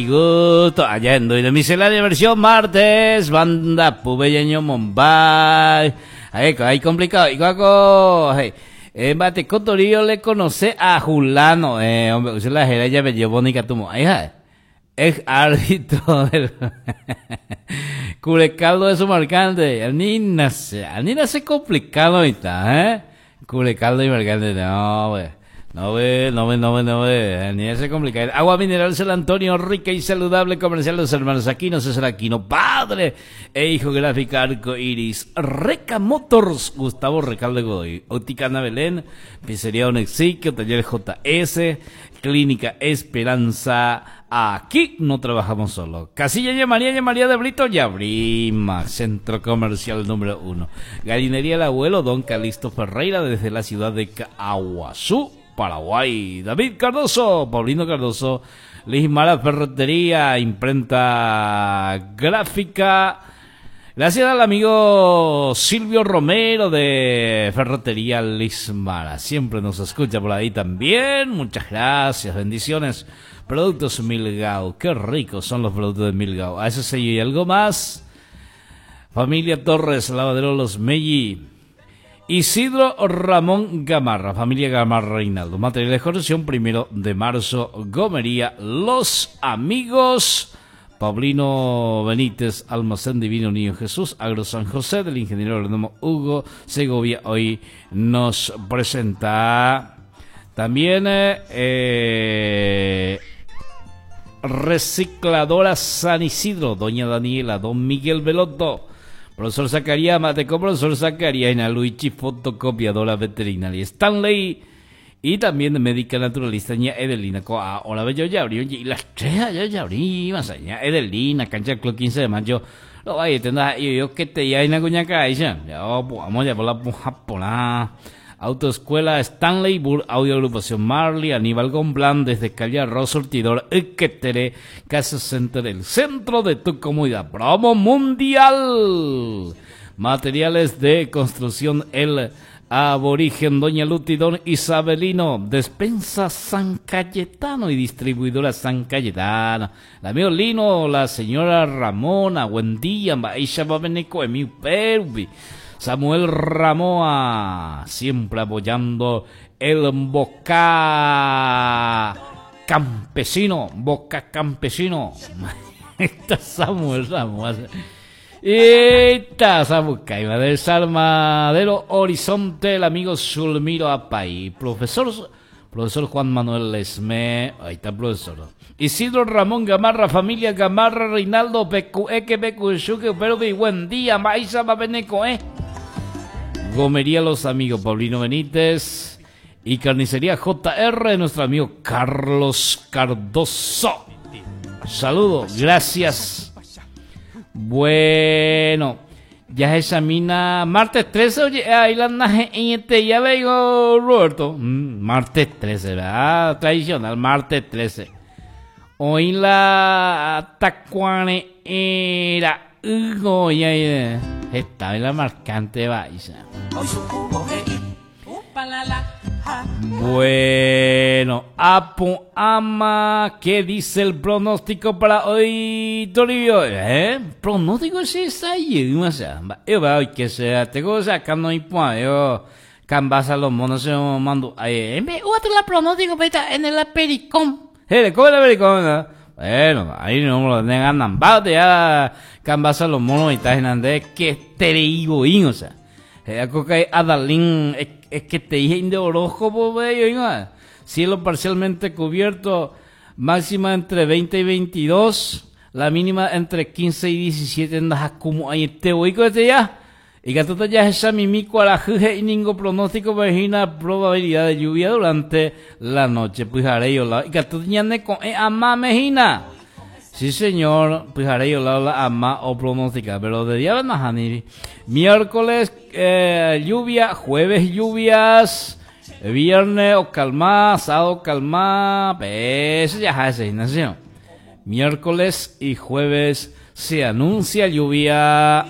Gusto allá en de miscelánea versión martes, banda Pubellaño Mumbai. Ahí, ahí complicado. Y cuaco, hey. Bate Cotorillo le conoce a Julano, hombre, usted la jera ya me llevó ni catumo. Ahí, ex árbitro del Curecaldo de su marcante. Ni nace, ni nace complicado ahorita, ¿eh? Curecaldo y marcante, no, güey. No ve, no ve, no ve, no ve, ni ese complicado. Agua mineral San Antonio, rica y saludable, comercial Los Hermanos Aquino, César Aquino, padre e hijo gráfica Arco Iris, Reca Motors, Gustavo Recalde Godoy, Óptica Ana Belén, Pizzería Onexiquio, Taller JS, Clínica Esperanza. Aquí no trabajamos solo. Casilla y María y María de Brito y Abrima, Centro Comercial número 1. Galinería El Abuelo, Don Calixto Ferreira, desde la ciudad de Caaguazú, Paraguay. David Cardoso, Paulino Cardoso, Lismara Ferretería, Imprenta Gráfica. Gracias al amigo Silvio Romero de Ferretería Lismara. Siempre nos escucha por ahí también. Muchas gracias, bendiciones. Productos Milgao, qué ricos son los productos de Milgao. A ese sello y algo más. Familia Torres, Lavadero Los Melli. Isidro Ramón Gamarra, familia Gamarra Reinaldo. Material de construcción, 1 de marzo, Gomería Los Amigos. Paulino Benítez, Almacén Divino Niño Jesús, Agro San José, del ingeniero agrónomo Hugo Segovia, hoy nos presenta también Recicladora San Isidro, doña Daniela, don Miguel Belotto, profesor Zacarías Mateco, profesor Zacarías, Luigi, fotocopiadora veterinaria Stanley, y también médica naturalista ña Edelina Coa, hola bello ya abrió, y las tres allá ya abrí, más allá, Edelina, cancha club 15 de mayo, lo vaya, tendrá, y yo que te ya en la cuñaca, ya, ya, vamos ya por la puja, Autoescuela Stanley, Bull, Audio Agrupación Marley, Aníbal Gomblán, desde Calle Arroz, Surtidor, Iquetere, Casa Center, el centro de tu comunidad. Promo Mundial. Materiales de construcción, el Aborigen, Doña Luti, Don Isabelino, Despensa San Cayetano y Distribuidora San Cayetano. El amigo Lino, la señora Ramona, buen día, Maisha Babeneco, Emi Pervi. Samuel Ramoa, siempre apoyando el Boca Campesino, Boca Campesino. Está Samuel Ramoa. Esta Samucaima del Salmadero Horizonte, el amigo Zulmiro Apay, profesor Juan Manuel Lesme, ahí está el profesor. Isidro Ramón Gamarra, familia Gamarra, Reinaldo, Pecueque, Pecuchuque, Perú, buen día, Maíza, Babeneco, Gomería Los Amigos, Paulino Benítez y Carnicería JR, nuestro amigo Carlos Cardoso. Saludos, gracias. Bueno, ya examina martes 13, oye, ahí la naje en este, ya le digo, Roberto. Martes 13, ¿verdad? Tradicional, martes 13. Hoy la tacuane era Hugo, ya, ya. Está en la marcante baiza. Bueno, Apu Ama, ¿qué dice el pronóstico para hoy, Toribio? Pronóstico sí está ahí, o sea, yo veo que sea, te cosa acá no hay yo cambasa los monos se mando, ay, me otro la pronóstico pero en el apericón. ¿Cómo el apericón? ¿No? Bueno, ahí no me lo tengan nambado, ya cambasa los monos y está en que te digo, o sea. Coca Adalín, es que te dije de horóscopo, bello, cielo parcialmente cubierto, máxima entre 20 y 22, la mínima entre 15 y 17, andas como ahí te voy con este ya. Y que tú ya esa mimico a la juge y ningún pronóstico imagina probabilidad de lluvia durante la noche. Pues haré yo la, y que tú ya ne con ama mejina. Sí, señor, pues haré yo la ama o pronóstica, pero de día van a janir. Miércoles lluvia, jueves lluvias, viernes o calma, sábado calma, pues ya es ¿no? Miércoles y jueves se anuncia lluvia.